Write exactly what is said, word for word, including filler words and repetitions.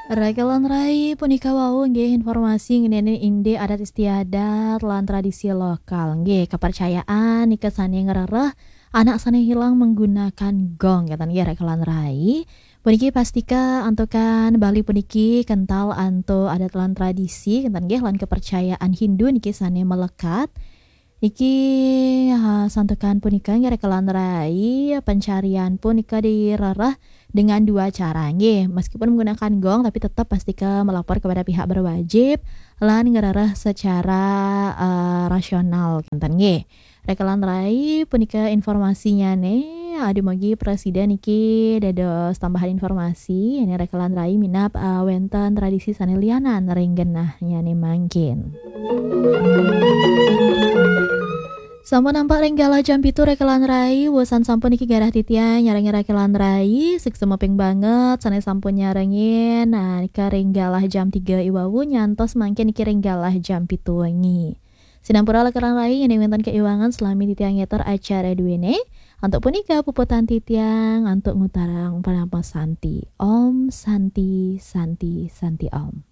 Rekan lan rai, punika wau nggih informasi ngenani indik adat istiadat lan tradisi lokal. Nggih, kepercayaan nika sane ngrereh anak sane hilang menggunakan gong, kenten nggih, rekan lan rai. Puniki pastika antukan Bali puniki kental antuk adat lan tradisi, kenten nggih, lan kepercayaan Hindu niki sane melekat. Niki, ha, santukan punika nggih, rekan lan rai, pencarian punika direreh dengan dua cara nggih. Meskipun menggunakan gong, tapi tetap pastika melapor kepada pihak berwajib lan ngerereh secara, eh, rasional, kenten nggih. Rekan lan rai, punika informasinyane. Aduh, mugi prasida niki dados tambahan informasi. Ini rekan lan rai minab, eh, wenten tradisi sane lianan ring genahnyane mangkin. Sampun nampak ring galah jam pitu, rekan lan rai, wusan sampun niki garah titiang nyarengin rekan lan rai, suksma ping banget sane sampun nyarengin. Nah, nika ring galah jam tiga iwawu nyantos mangkin niki ring galah jam pitu wengi. Sinampura rekan lan rai, yen wenten keiwangan, salami titiang ngeter acara duene. Antuk punika puputang titiang antuk ngutarang parama santi. Om Santi, Santi, Santi Om.